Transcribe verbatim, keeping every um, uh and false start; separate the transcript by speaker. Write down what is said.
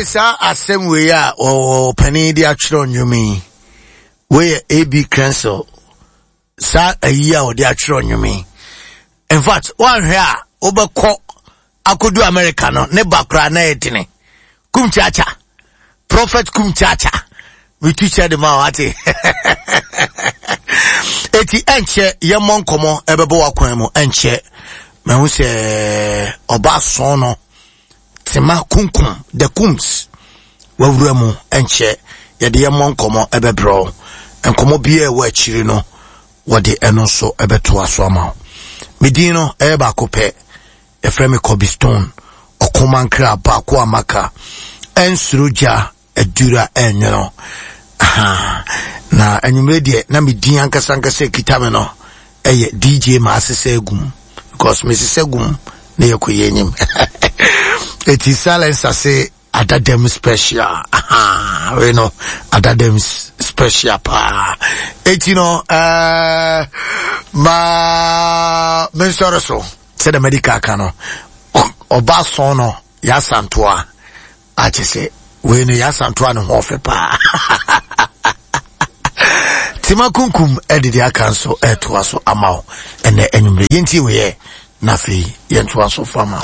Speaker 1: Eti saa asɛm wei a ɔpanin de atwerɛ nnwom yi, wei yɛ A B Crentsil, saa ayi a ɔde atwerɛ nnwom yi. In fact, woanhwɛ a wobɛkɔ akɔdu America no ne ba koraa na ɛyɛ dene. Kumchacha, Prophet Kumchacha, metu kyɛ de ma wate. Eti ɛnkyɛ yɛmmɔ nkɔmmɔ ɛbɛbɔ w'akwan mu. Ɛnkyɛ mahu sɛ ɔba sɔn no Tema Kunkum the Kums wawura mu. Ɛnkyɛ yɛde yɛmmɔ nkɔmmɔ ɛbɛbrɛ nkɔmmɔ biara ɛwɔ akyiri no, wɔde ɛno nso ɛbɛtoa so ama wo. Medin no ɛyɛ baako pɛ, yɛfrɛ me Kobe Stone Ɔkomankra baako a maka ɛnsoro gya adura ɛnwono. Na anwummerɛ deɛ na medin ankasa ankasa kita me no ɛyɛ D J Maasesa Egum, because mesesa gum na yɛkɔ yɛ anim. Eti silence ase adadam special, wei no adadam special paa. Eti no ɛɛ ma mensɔre so sɛdeɛ medical ka no, ɔba sɔn no yɛasantoa akyɛ sɛ wei no yɛasantoa ne ho ɔfɛ paa. Tima Kunkum ɛde deɛ aka nso ɛtoa so ama wo ɛnɛ anwummerɛ. Yɛntie wei na afei yɛntoa so fama.